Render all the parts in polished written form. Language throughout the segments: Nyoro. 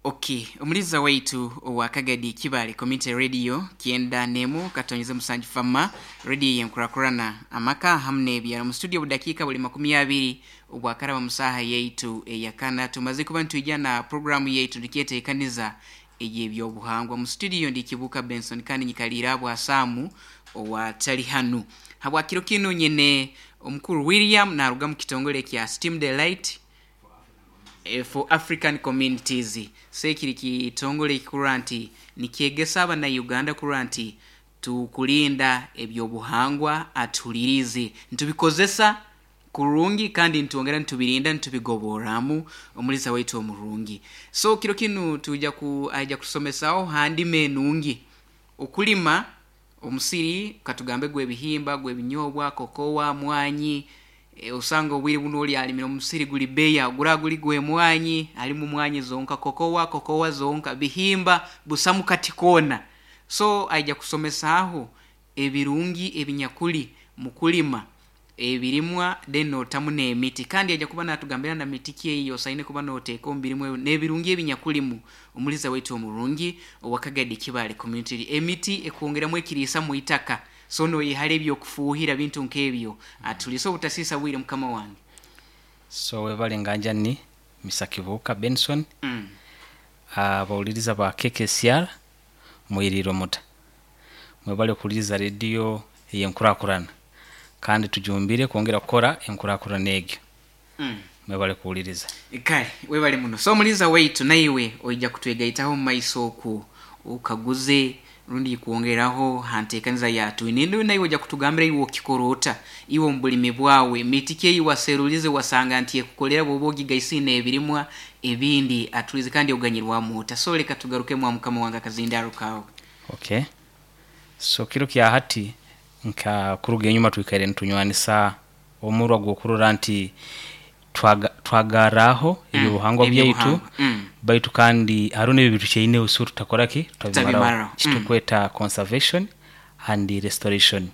Okay, omuliza waitu owa Kagadi Kibale Community Radio 91.7 Fama radio yenkurakurana amaka hamwe n'ebyaro mu studio budakiika buli 20 obwakaraba musaha yaitu eyakana. Tumaze kuba nitwijja na programu yaitu nikyeteekaniza ey'ebyobuhangwa. Mu studio ndi Kibuka Benson kandi nyikaliire Abwasamu owatali hanu habwa kiro kinu. Nyine omukuru William naruga mu kitongole kya Steam Delight for African Communities. So ekiri kitongole ekikurora nti nikyegesa abana Uganda kurora nti tukulinda ebyobuhangwa, atuhuliriize, nitubikozesa kurungi kandi nitwongera nitubirinda, nitubigoboramu omulisa waitu omurungi. So kiro kinu tuja ku aija kutusomesaho handima enungi okulima omusiri, katugambe gw'ebihimba, gw'ebinyobwa, kokowa, mwanyi. Osanga obwire bunu oli alimire omusiri guli beya, gura guli gw'emwanyi, alimu mwanyi zonka, kokowa kokowa zonka, bihimba busamu kati koona. So aija kusomesaaho ebirungi ebinyakuli mukulima ebirimwa, then notamu n'emiti, kandi aija kuba natugambira na miti ki eyi osaine kuba noteeka omu birimwa ebyo n'ebirungi ebinyakulimu. Omuliza waitu omurungi owa Kagadi Kibale Community, emiti ekwongeramu ekiriisa mu itaka, so noyehara ebyokufuuhira bintu nk'ebyo. Atuliisa obutasiisa bwire, mukama wange. So webale nganjani Mr. Kibuuka Benson. Abawuliriza ba KKCR, mwiriire muta? Mwebale kuhuliriza rediyo ey'enkurakurana, kandi tujumbire kwongera kukora enkurakurana egyo. Mwebale kuwuliriza. Kale webale muno. So omuliza waitu, naiwe oija kutwegaitaho omu maiso oku okaguze rundi kwongeraho ha nteekaniza yatwine, naiwe ojja kutugambira iwe okikora ota iwe omu bulimi bwawe, miti ki eyi waserulize wasanga nti ekukolera bwoba ogigaisire n'ebirimwa ebindi. Atulize kandi oganyirwamu ota. So leka tugarukemu mukama wange akazindaro kawe. Okay, so kiro kya hati, nka kuruga enyuma twikaire nitunywanisa omurwa gw'okurora nti twagarraho ebyobuhangwa byaitu. Ebyobuhangwa. Baitu kandi hariho n'ebyo bitukyaineho, so tutakora ki? Tutabimaraho. Tutabimaraho, kitukweta conservation and restoration.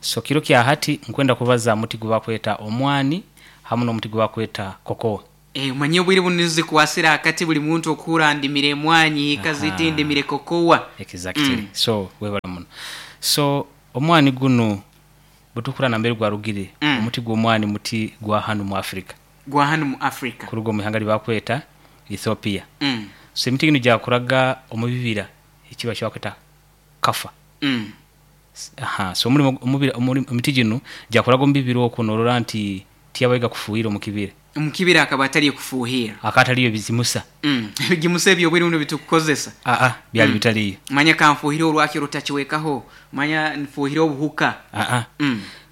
So kiro kya hati nkwenda kubaza muti gwebakweta omwani hamu n'omuti gwebakweta kokowa. Omanye obwire bunu nizo zikwasire akati, buli muntu okuhura ndimire emwanyi hika ziti, ndimire kokowa. Exactly. So webale muno. So omwani gunu bwetukura nambere gwarugire, omuti gw'omwani muti gwa hanu mu Africa. Gwa hanu mu Africa. Kuruga omu ihanga lyebakweta Ethiopia. So emiti ginu gyakuraga omu bibira ekiba kyebakweta kafa. Aha, so omulimo emiti ginu gyakuraga omu bibira okwo, norora nti tiyabayiga kufuhira omu kibira. Omukibira akaba ataliyo kufuuhira. Akaba ataliyo bizimusa. Ebigimusa ebyo obwire buno bitukukozesa. Aa, byali bitaliyo. Manya kanfuuhire orwaki orutakiwekaho, manya nfuuhire obuhuka. Aa,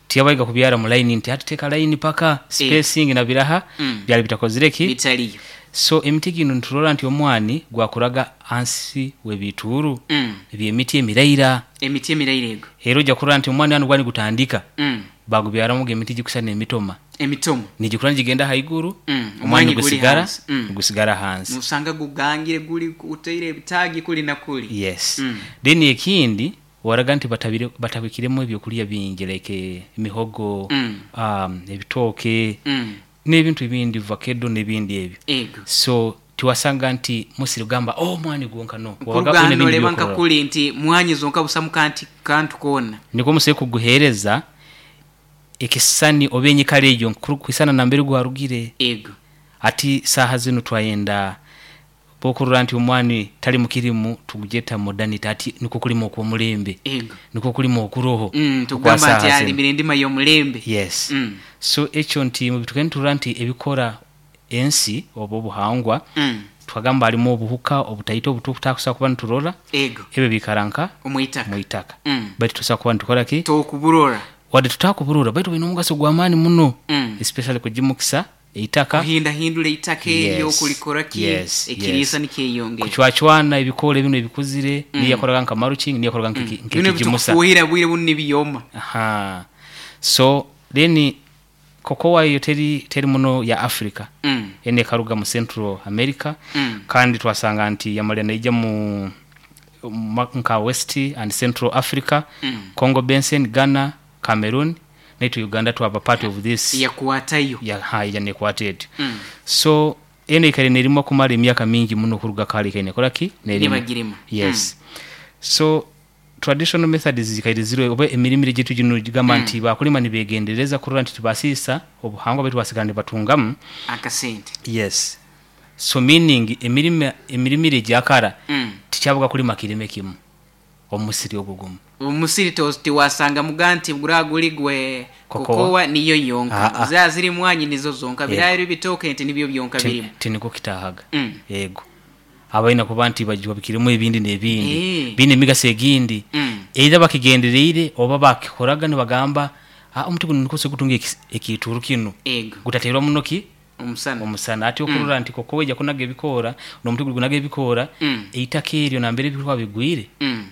tiyabayiga kubyara mu line nti hati teeka line paka spacing na biraha. Byali bitakozire ki? Bitaliyo. So emiti ginu niturora nti omwani gwakuraga hansi w'ebituuru eby'emiti emiraira. Emiti emiraira ego. Era ojja kurora nti omwani hanu gwali nigutandika, bagubyaramuga emiti gikusana emitoma. Emitomo. Nigikura nigigenda haiguru. Omwani Omwanyi guli nigusigara hansi. Nigusigara hansi. Nosanga gugangire guli utaire ebitaagi kuli na kuli. Yes. Then ekindi waraga nti batabikiremu ebyokulya bingi like emihogo, ebitooke, n'ebintu ebindi, vakedo n'ebindi ebyo. Ego. So tiwasanga nti musiri kugamba omwani gwonka, no wabaga kuruga oyine hanu ebindi noreeba nka byokurora. Kuli nti mwanyi zonka busamu kanti kantu koona. Nikwo omusiri kuguhereza ekisisani oba enyikara egyo kwisana nambere gwarugire. Ego. Hati saaha zinu twayenda bwokurora nti omwani tali mukirimu tugugyeta modernity, hati nikwo kulima okw'omulembe. Ego. Nikwo kulima okuroho okwa Tugamba nti saaha zinu. Alimire endima y'omulembe. Yes. So ekyo nti mubitukaire niturora nti ebikora ensi oba obuhangwa, twagamba harimu obuhuka obutaito obututakusobola kuba niturora. Ego. Ebyo biikara nka omwitaka. Mwitaka. Baitu tusobola kuba nitukora ki? Tokuburora. Wadde tutakuburora, baitu bwine omugaso gw'amaani muno, especially kugimukisa eitaka. Kuhindahindura eitaka eryo. Kulikora ki? Ekiriisa nikyeyongera. Kucwacwana ebikoora ebinu ebikuzire, niyo yakoraga nka mulching, niyo yakoraga bino nk'ekigimusa. Ebitukufuuhira bwire bunu nibiyoma. Aha. So then kokowa eyo teri muno ya Africa. Eno ekaruga mu Central America. Kandi twasanga nti yamalira naija mu nka West and Central Africa, Congo Basin, Ghana, Cameroon, naitwe Uganda twaba part of this. Yakwatayo. Yaija nekwata etyo. So Eno ikaire nerimwa kumara emyaka mingi muno kuruga kare ikaire nekora ki? Nerima. Nibagirima. Yes. So traditional methods zikaire ziriho, oba emirimire gyaitu gino gigamba nti bakulima nibegendereza kurora nti tibasiisa obuhangwa baitu basigara nibatungamu akasente. Yes. So meaning emirimire egyakara tikyabaga kulima kirime kimu omusiri ogwo gumu. Omusiri tiwasangamuga nti gura guli gwe kokowa niyo yonka. Zira ziri mwanyi nizo zonka. Birayiro bitooke nti nibyo byonka birimu. Tiniko kitahaga. Yego. Abaina kuba nti bajwabikiremu ebindi n'ebindi. Bine emigaso egindi. Either bakigendereire oba bakikoraga nibagamba omuti guno niko gutunga ekituru kino. Gutaterwa muno ki? Omusana. Omusana. Ati okurora nti kokowa ejja kunaga ebikoora n'omuti guli gunaga ebikoora eitaka eryo nambere ebikoora bigwire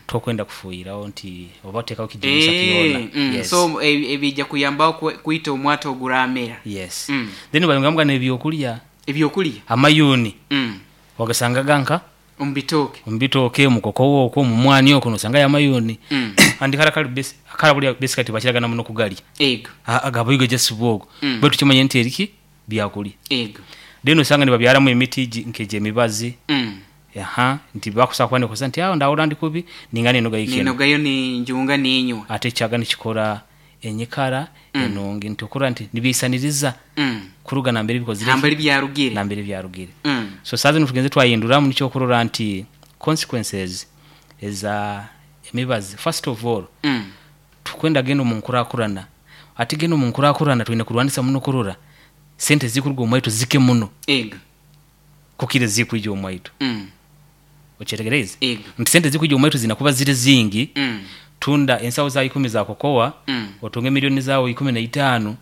tokwenda kufuiraho nti oba otekaho kijimusa kyona. Yes. So ebijja kuyambaho kwita omwata oguramera. Yes. Then bayongamuga n'ebyokulya. Ebyokulya? Amayuni. Wagasangaga nka? Omubitooke. Omubitooke, mukokowa okwo, mumwani okwo nosangayo amayuni. Andi kara kali base kara buli basically tibakiragana muno kugalya. Ego. Agaboigo just bwogo. Baitu kimanye nti eriki byakulya. Ego. Then osanga nibabyaramu emiti nk'egyemibazi. Nti bakusaba kuba nikoza nti aho ndahura ndi kubi ningana enoga yikino. Ninogayo ni njunga ninywa. Ate kyaga nikikora enyikara enongi nti okura nti nibisaniriza kuruga nambere bikozire. Nambere byarugire. Nambere byarugire. So sazi nitugenze twahinduramu nikyo kurora nti consequences eza emibazi. First of all, tukwenda genda omu nkurakurana. Ati genda omu nkurakurana twine kurwanisa muno kurora sente zikuruga omwaitu zike muno. Ego. Kukire zikuija omwaitu. Okyetegereze? Ego. Nti sente zikuija omwaitu zinakuba ziri zingi. Tunda ensawo za 10 za kokowa, otunge milioni zawo 15,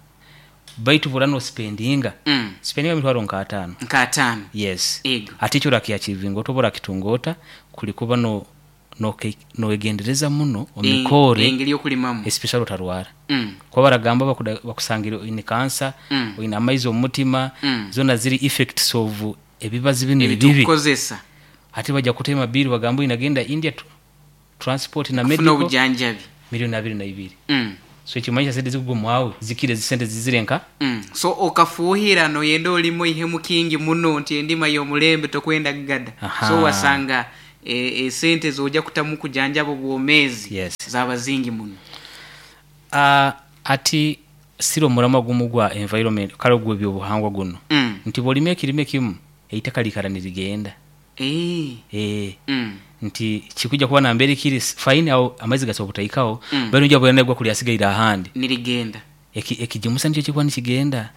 baitu burano spendinga. Spendinga mitwaro nka 5. Nka 5. Yes. Ego. Ati ekyo orakiachivinga otobora kitungota kulikuba no noegendereza muno omikore engeri yokulimamu especially otarwara. Kuba baragamba bakusangira oyine kansa, oyine amaizi omutima, zona ziri effects of ebibazi bino ebibi. Ebitukozesa. Ati bajja kutema bill bagamba inagenda India transport na medical obujanjabi milioni 22. So ekimanyisa sente zikugumwawe zikire zisente zizirenka. So okafuhira noyenda olimo ihemu kingi muno nti endima y'omulembe tokwenda gada. So wasanga sente zoja kutamu kujanjaba obwomezi. Yes. Zaba zingi muno. Ati siro murama gumu gwa environment kale gwe byobuhangwa guno. Nti bolime kirime kimu eitaka likara nirigenda. Nti kikuja kuba nambere kiri fine au amaizi gasobutaikaho bali nje bwana gwa kulyasigaira ahandi nirigenda. Ekijimusa nicho kikuwa nikigenda.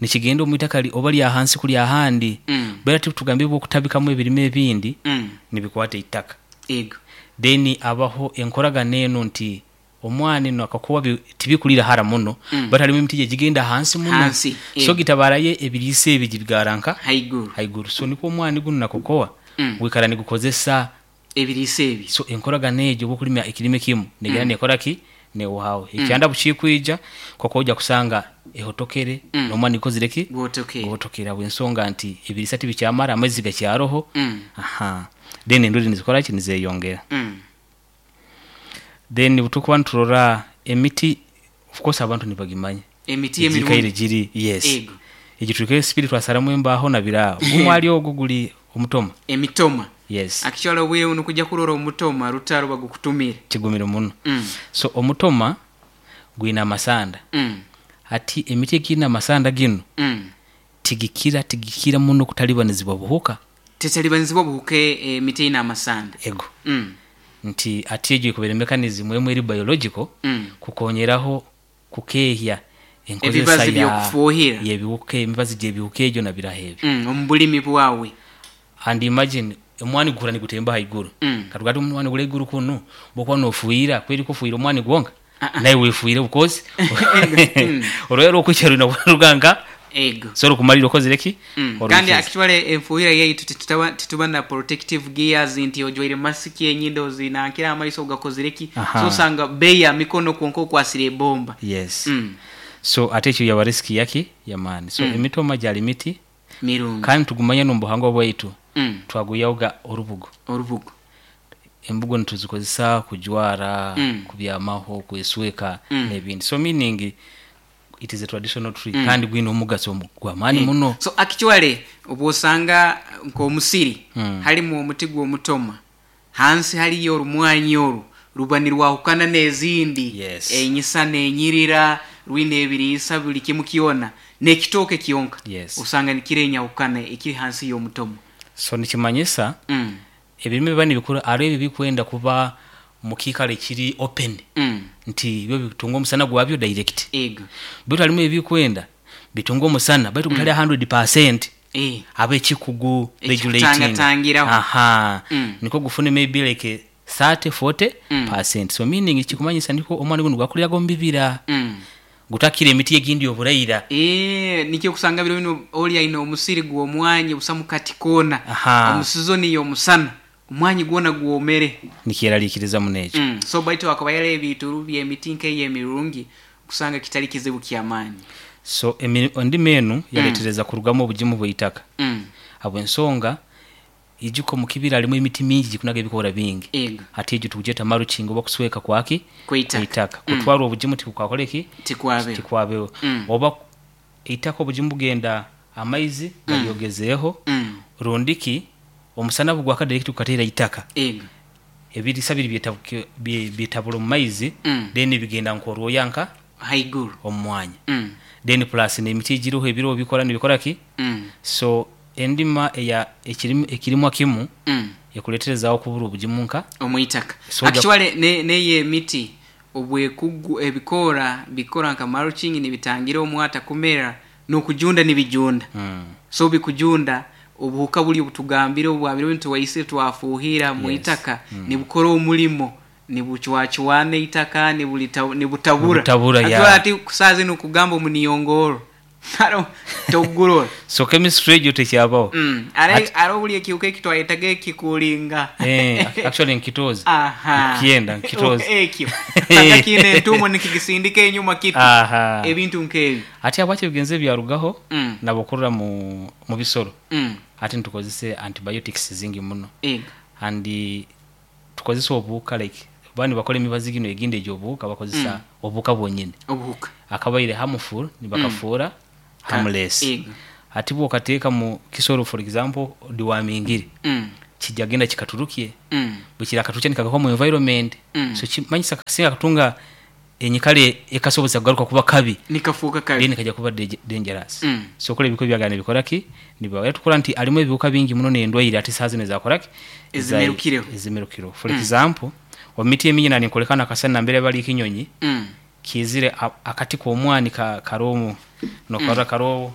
Nikigenda omwitaka oba lya hansi kuli ahandi. Bera tugambe bwo kutabikamu ebirime ebindi nibikwata itaka. Ego. Then abaho enkoragana eno nti omwani no akakuwa tibikulira hara muno batalimu emiti gigenda hansi muno. Hansi. So gitabaraye ebirise ebigigaranka haiguru. Haiguru. So niko omwani guno nakokowa wikara nigukozesa ebirise ebi. So enkoragana egyo bokulima ekirime kimu negera nekora ki ne wawe. Ekyanda bukikwija koko ojja kusanga ehotokere nomwani kozireki gotokera bwensonga nti ebirisa tibikyamara amaizi gakyaroho. Then endudi nizikora ki nizeyongera. Then butukuba nturora emiti of course abantu nibagimanya emiti emirungi giri. Yes. Ego. Egituke spirit twasaramu embaho na bira omwali ogwo guli omutoma emitoma. Yes. Actually obwire buno kujja kurora omutoma rutaro bagukutumire kigumire muno. So omutoma gwina amasanda. Ati emiti ekina amasanda gino tigikira muno kutalibanizibwa buhuka. Tetalibanizibwa buhuka emiti ina amasanda. Ego. Nti ati egyo kubera mechanism emwe eri biological kukonyeraho kukehya ebibazi byokufuhira yebiwuka emibazi gyebiwuka egyo na biraha ebyo omubulimi bwawe. And imagine omwani gukura nigutemba haiguru. Katugati omwani gule iguru kuno bokwa nofuira kweri kufuira omwani gwonka naye wefuire because olwero okukyalo na ruganga ego so kumalira okozereki kandi actually enfuira yaitu tituba na protective gears nti ojwaire mask enyindo zinankira amaiso gakozereki. So sanga beya mikono kwonko okwasire bomba. Yes. So ate ekyo yaba risk yaki yamani. So emitoma gyali miti mirungi kandi tugumanya n'omubuhangwa bwaitu. Twaguyauga orubugo. Embugo nituzikozesa kujwara, kubyamaho, kwesweka n'ebindi. So meaning It is a traditional tree kandi gwine omugaso gw'amaani muno. So actually obwosanga nk'omusiri halimu omuti gw'omutoma, hansi haliyo orumwanyi oru ruba nirwahukana n'ezindi. Yes. Enyisana enyirira, rwine ebiriisa buli kimu kyona, n'ekitooke kyonka Yes. osanga nikira enyahukana ekiri hansi y'omutoma. So nikimanyisa ebirime biba nibikura, hariho ebi ebikwenda kuba mu kiikaro ekiri open, nti byo bitunga omusana gwabyo direct. Ego. Baitu harimu ebikwenda bitunga omusana baitu gutali 100%, aba ekikugu regulating. Ekikutangatangiraho. Aha. Nikwo gufune maybe like 30 40 percent. So meaning kikumanyisa niko omwana guno gwakuliraga omu bibira, gutakira emiti egindi oburaira. Nikyo kusanga biro bino oli aine omusiri gw'omwanyi busamu kati koona. Omu sizoni y'omusana omwanyi gwona gwomere. Nikyeraliikiriza muno ekyo. So baitu akaba yara ebituru by'emiti nk'eyemirungi kusanga kitali kizibu ky'amaani. So endima enu yaletereza kurugamu obugimu bw'eitaka, habw'ensonga ijuka omu kibira harimu emiti mingi gikunaga ebikoora bingi. Hati egyo tugyeta mulching oba kusweka kwaki? Kw'eitaka. Kw'eitaka. Kutwara obugimu tikukakora eki? Tikwabeho. Tikwabeho. Oba eitaka obugimu bugenda, amaizi garyogezeeho, rundiki omusana bugwaka direct gukateera itaka, ebiriisa biri byetabura omu maizi, then bigenda nk'orwoya nka haiguru omu mwanya. Then plus n'emiti egiriho ebiro bikora nibikora ki? So endima eya ekirimwa kimu ekuleterezaaho okubura obugimu nka omwitaka. So Actually neyo emiti obwekugu ebikoora bikora nka mulching, nibitangira omwata kumera n'okujunda nibijunda. So bikujunda, obuhuka buli obutugambire obwabire nituwaisire twafuuhira mu itaka, nibukora omulimo, nibucwacwana eitaka, nibutabura. Nibutabura, Actually, ati kusaazi nokugamba omuniyongoro haro togurora. So chemistry egyo tekyabaho. Are buli ekihuka ekitwayetaga ekikulinga. Actually nkitoozi. Aha. Nkikyenda nkitoozi. Ekyo sanga kiine entuumo nikigisindika enyuma kiti. Ebintu nk'ebyo. Ati habwaki ebigenzo ebyarugaho? Nabokurra mu bisoro, ati nitukozesa antibiotics zingi muno, and tukozesa obuhuka, like bani nibakora emibazi gino egindi egy'obuhuka, bakozesa obuhuka bwonyini. Obuhuka. Akabaire harmful nibakafuura harmless. Ati bwokateeka mu kisoro, for example dewormingire, kijja genda kikaturukye, bwekira katurukya nikagaruka mu environment. So kimanyisa kasinga katunga enyikara ekasobozesa kugaruka kuba kabi. Nikafuuka kabi. Then kajja kuba dangerous. So kola ebiko byagana nibikora ki, niba tukora nti alimu ebihuka bingi muno n'endwaire ati saa zino ezakora ki? Ezimerukireho. Ezimerukireho. For example, omu miti emingi nani nkolekana akasana nambere bali ekinyonyi kizire akati k'omwani karomu nokarora karowo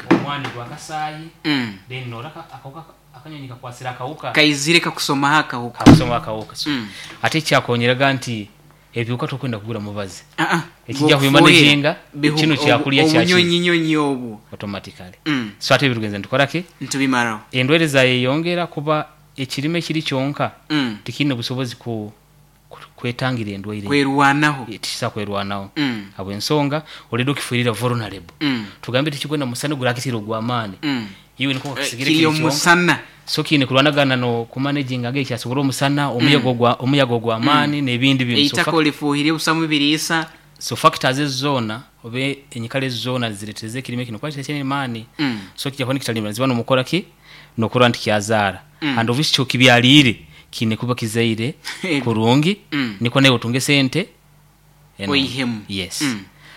omwani gwa kasaayi, then norora akawuka, akanyonyi kakwasire akawuka. Kaizire kakusomaho akawuka. Kakusoma akawuka. So ate ekyakonyeraga nti ebihuka tokwenda kugura mubazi. Ah, ah. Ekijja Bw'okufuuhira, kubimanaginga kino kyakulya kyaki? Obunyonyinyonyi obwo. Automatically. So ate ebirugenza nitukora ki? Ntubimaraho. Endwaire zayeyongera kuba ekirime kiri kyonka tikiine busobozi kwetangira endwaire. Kwerwanaho. Tikisa kwerwanaho, habw'ensonga oledi okifuirira vulnerable. Tugambe tikikwenda musana gurakitira ogw'amaani, iwe niko kakisigire kiri kiri kyonka. Omusana. So kiine kurwanagana no kumanaginga ng'ekyasobora omusana, omuyaga ogw'amaani n'ebindi bintu. So, eitaka olifuuhire busamu biriisa. So factors ezo zoona oba enyikara ezo zoona ziretereza ekirime kino kuba kitakyaine maani. So kijja kuba nikitalimira ziba nomukora ki nokurora nti kyazaara, and of kyo kibyaliire kiine kuba kizaire kurungi, nikwo nawe otunge sente eno. Oihemu. Yes.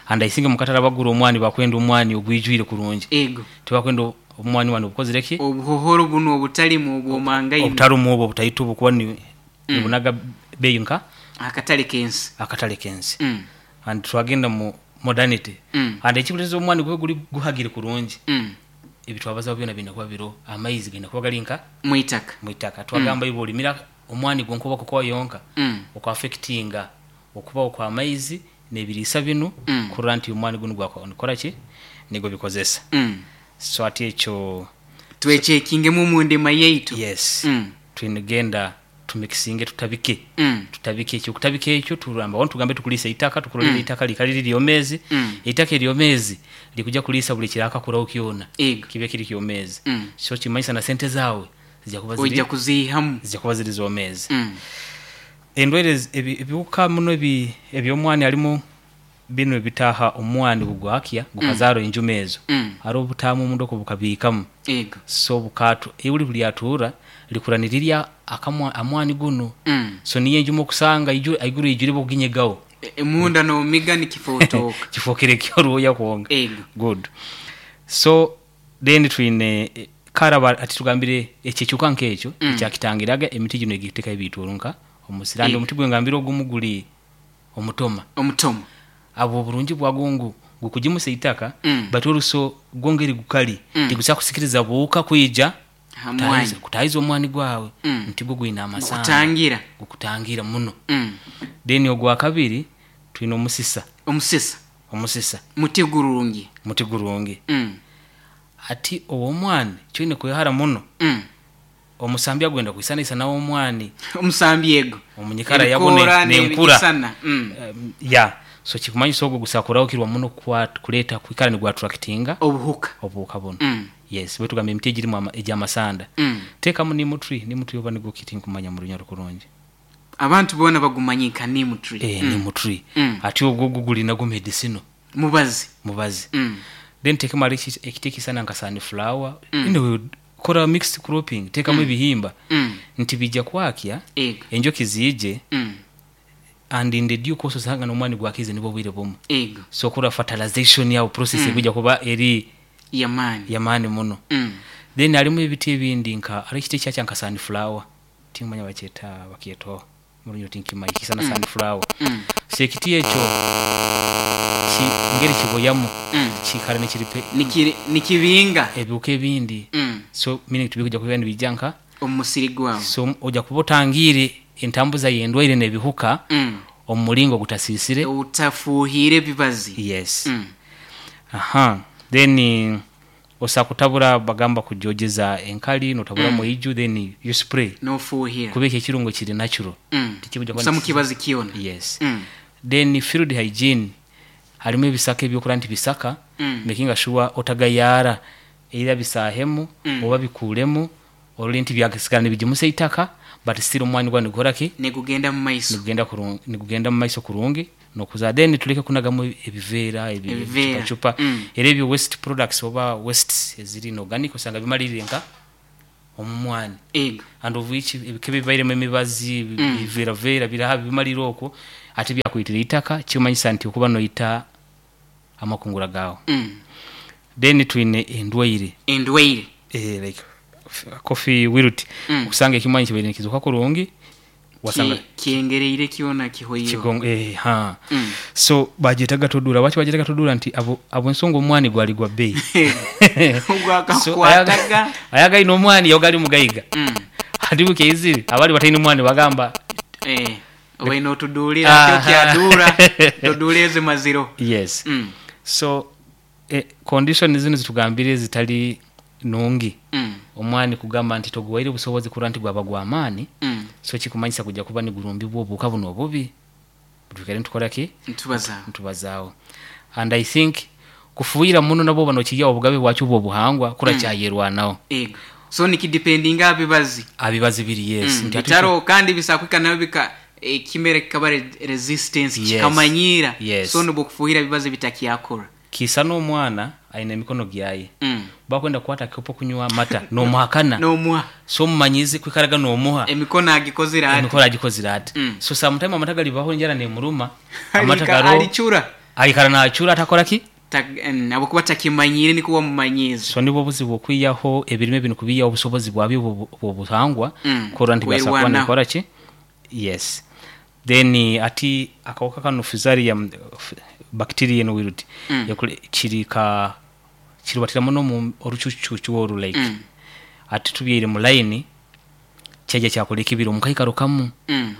And I think mukatara bagura omwani bakwenda omwani ogwijwire kurungi. Tibakwenda omwani wani obukozire ki? Obuhohoro buno obutalimu obwomangaine. Obutarumu obwo obutaito obukuba nibunaga beeyi nka akatale k'ensi. Akatale k'ensi. And twagenda mu modernity, and ekikuleeteza omwani gube guli guhagire kurungi, ebitwabazaho byona birina kuba biro, amaizi galina kuba gali nka mwitaka. Mwitaka. Twagamba iwe olimira omwani gwonka oba kokoa yonka, okwaffectinga okubaho kw'amaizi n'ebiriisa binu, kurora nti omwani gunu gwakora ki, nigo bikozesa. So ati ekyo twekyekingemu omu ndima yaitu. Yes. Twinegenda tumikisinge, tutabike, tutabike ekyo, kutabika ekyo turamba wano tugambe tukulisa eitaka, tukurolera eitaka likali liri lyomezi. Eitaka eryomezi likuja kulisa buli kirakakuraho kyona, kibe kiri kyomezi. So kimanyisa na sente zawe zijja kuba ziri ojja kuziihamu. Zijja kuba ziri zomezi. Endwaire ebihuka muno eby'omwani harimu. Binu ebitaaha omwani bugwakya gukazaara enjuma ezo. Haroho obutaamu omunda oku bukabiikamu. So bukatu ihuli bulyatuura likura nirirya amwani gunu. So niyo enjuma okusanga aiguru eijwire bokuginyegaho. Munda nomiga nikifotoka. Kifookere kyoruhooya kwonka. Good. So then twine karaba ati tugambire ekyo ekihuka nk'ekyo ekyakitangiraga emiti ginu egiteekaho ebiituuru nka omusiri. And omuti gwengambire ogumu guli omutoma. Omutoma. Abo oburungi bwagwo ngu gukugimusa eitaka baitu oruso gwo ngeri gukali tigusobola kusikiriza buhuka kwija kutaahiza omwani gwawe nti gwo gwine amasanda. Gukutangira. Gukutangira muno. Then ogwakabiri twine omusisa. Omusisa. Omusisa. Muti gurungi. Muti gurungi. Ati ow'omwani kyoine kwehara muno. Omusambi agwenda kwisanaisana ow'omwani. Omusambi ego. Omunyikara yagwo nenkura. Ya. So kikumanyisa ogwo gusobola kurahukirwa muno kuleeta kwikara nigwattractinga obuhuka. Obuhuka bunu. Yes, bwe tugamba emiti egirimu egy'amasanda. Teekamu neem tree, neem tree oba nigwo ki tinkumanya mu Runyoro kurungi. Abantu boona bagumanyi nka neem tree. Neem tree. Ati ogwo ogwo guli nagwo medicinal. Mubazi. Mubazi. Then teekamu hariho ekiti ekisana nka sunflower. Anyway, kora mixed cropping, teekamu ebihimba. Nti bijja kwakya, enjoki ziije, and in the due course osanga n'omwani gwakize nibwo obwire bumwe. So kora fertilization yawe process ekujja kuba eri yamaani. Yamaani muno. Then harimu ebiti ebindi nka hariho ekiti ekyakya nka sunflower. Tinkumanya bakyeta bakyetaho mu Runyoro tinkimanyi kisana sunflower. So ekiti ekyo ngeri kiboyamu kiikara nikiripe Nikibinga ebihuka ebindi. So meaning tibikujja kuba nibijja nka omu musiri gwawe. So ojja kuba otangiire entambuza y'endwaire n'ebihuka omu muringo ogutasiisire. Utafuuhiire ebibazi. Yes. Aha. Then osobola kutabura bagamba kujojeza enkali notaburamu eiju then you spray. Nofuuhira. Kuba ekyo ekirungo kiri natural. Tikikujja kuba Busamu kibazi kyona. Yes. Then field hygiene harimu ebisaka ebyokurora nti bisaka making sure otagayaara either bisaahemu oba bikuuremu orole nti byasigara nibigimusa eitaka but still omwani gwawe nigukora ki? Nigugenda mu maiso. Nigugenda kurungi, nigugenda mu maiso kurungi nokuza. Then tuleke kunagamu ebiveera Ebiveera. ebicupacupa. Era ebyo waste products oba wastes eziri inorganic osanga bimaliriire nka omu mwani. And of which ebika ebibairemu emibazi biveeraveera biraha bimalira okwo ate byakwitira eitaka kimanyisa nti okuba noita amakungura gaawe. Then twine endwaire. Endwaire. Like coffee wilt. Okusanga ekimwanyi kibaire nikizoka kurungi wasanga Kyengereire kyona kihoireho. Kigongo ha. So bagyetaga todura. Lwaki bagyetaga todura nti abo ensonga omwani gwali gwa bbeeyi. Ogwakakwataga. So ayaga aine omwani yabaga ari mugaiga. Hati bukeizire abali bataine omwani bagamba obaine otuduulira kyo kyaduura toduura ezi maziro. Yes. So condition zinu zitugambire zitali nungi. Omwani kugamba nti toguwaire obusobozi kurora nti gwaba gw'amaani. So kikumanyisa kujja kuba nigurumbibwa obuhuka buno obubi. Twikare nitukora ki? Ntubazaaho. Ntubazaaho. And I think kufuhira muno nabwo oba nokiiha obugabe bwakyo obuhangwa kura kyayerwanaho. Ego. So nikidependinga aha bibazi. Aha bibazi biri yes. Nti ati Bitaro kandi bisobola kuhika nabyo bika ekimera kikaba resistance kikamanyiira. So nibwo kufuhira ebibazi bitakyakora. Kiisa n'omwana aine emikono gyaye. Bakwenda kukwata akikopo kunywa amata nomuhakana. Nomuha. So omumanyiize kwikaraga nomuha. Emikono agikozire ati. Emikono agikozire ati. So sometime amata galibaho enjara nemuruma. Amata garo. Alicura. Aikara nacura atakora ki? Ahabw'okuba takimanyiire nikwo wamumanyiize. So nibwo obuzibu okwihaho ebirime binu kubiihaho obusobozi bwabyo bw'obuhangwa kurora nti byasobola kuba nibikora ki? Yes. Then ati akahuka kanu Fusarium bacteria enu wilt kiri ka kirubatira muno omu orucucucu oru like ati tubyaire mu line kyaija kyakora ekibira omu kaikaro kamu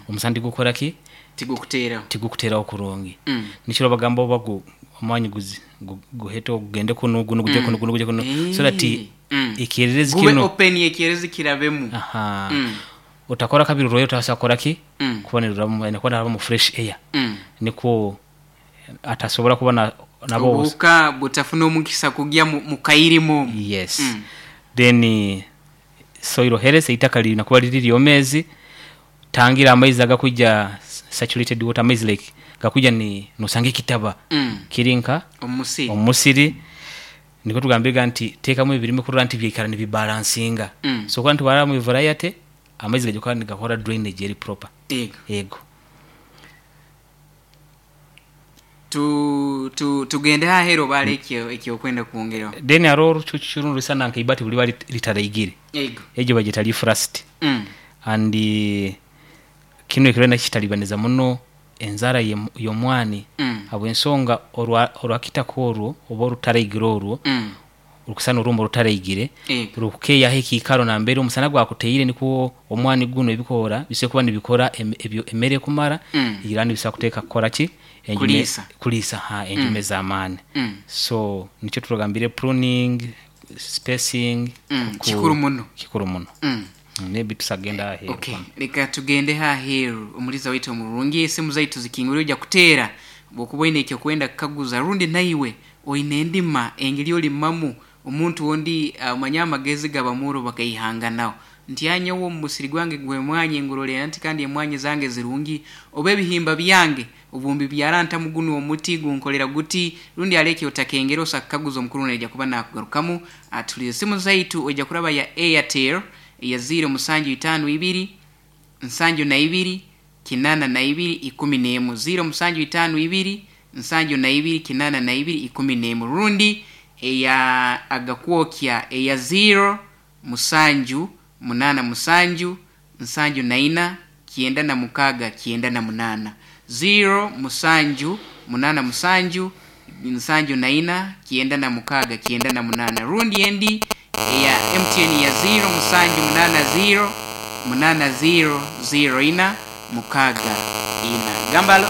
omusana tigukora ki? Tigukuteeraho. Tigukuteeraho kurungi. Nikyo bagamba oba omwanya guhete gugende kunu gunu guje kunu gunu guje kunu so that ekyererezi Gube kinu open ekyererezi kirabemu. Aha. Otakora kabiri orwaire otasobola kukora ki? Kuba nirurabamu aine kuba narabamu fresh air. Nikwo atasobora kuba nabo Obuhuka butafuna omukisa kugya mu kairima omu. Yes. Then soil health eitaka lirina kuba riri ryomeezi tangira amaizi agakwija saturated water amaizi like Gakwija ni nosanga ekitaba kiri nka omusiri. Omusiri nikwo tugambirega nti teekamu ebirime kurora nti byaikara nibibalansinga. So kurora nti warabamu variety, amaizi gaija kukora nigakora drainage eri proper. Ego. Ego. Tu tu tugende haheru oba hariho ekyokwenda kwongeraho. Then haroho orucucu runu ruisana nka ibati buli liba litaraigire. Ego. Egyo bagyeta leaf rust. And kinu ekiro nakyo kitalibaniza muno enzaara y'omwani habw'ensonga orwakitaka orwo oba orutaraigire orwo, rukusana orumba orutaraigire, Ego. rukukeeyaho ekiikaro nambere omusana gwakuteire nikwo omwani gunu ebikoora bisobora kuba nibikora emere ekumara, era nibisobora kuteeka kukora ki? Enjume, Kuliisa. Kuliisa ha enjume z'amaani. So nikyo turagambire pruning, spacing, Kikuru muno. Kikuru muno. Maybe tusagenda aheeru. Okay, leka tugende haheru omuliza waitu omurungi, esimu zaitu zikingurire ojja kuteera bwokuba oine ekyokwenda kukaguza rundi naiwe oine endima engeri olimamu omuntu ondi omanye amagezi gabamuro bakaihanganaho nti anyowe omu musiri gwange gw'emwanyi ngurorera nti kandi emwanyi zange zirungi oba ebihimba byange obumbi byarantamu gunu omuti gunkolera guti rundi aleke otakengera osa kukaguza omukuru naija kuba nakugarukamu. Atulize esimu zaitu oija kuraba ya Airtel ya 0752 72 82 11, 0752 72 82 11, rundi eya agakwokya eya 0 7 8 7 74 96 98, 0 7 8 7 74 96 98, rundi endi eya MTN ya 0 7 8 0 8 0 0 4 6 4. Gambalo.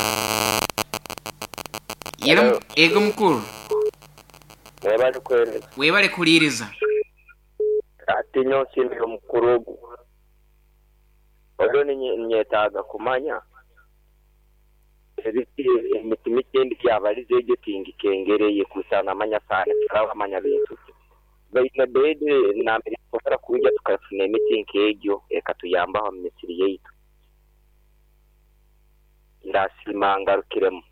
Yero. Hello. Ego mukuru. Webale kuhereza. Webale kuliiriza. Ati nyowe nsiimire omukuru ogu. Olwo ninyetaaga kumanya ebiti emiti mike endi yabalize egyo tingikengereye kusana amanya sana turaba amanya bintu ki. Baine bedi nambere tusobora kwija tukafuna emiti nk'egyo ekatuyambaho omu misiri yaitu. Ndasiima ngarukiremu.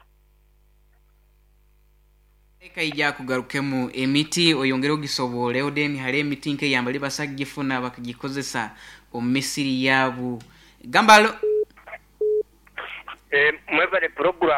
Eka ija kugarukemu emiti oyongere ogisoboleho, then hariho emiti nk'eyambali basa kugifuna bakagikozesa omu misiri yaabu. Gambalo. Mwebale program.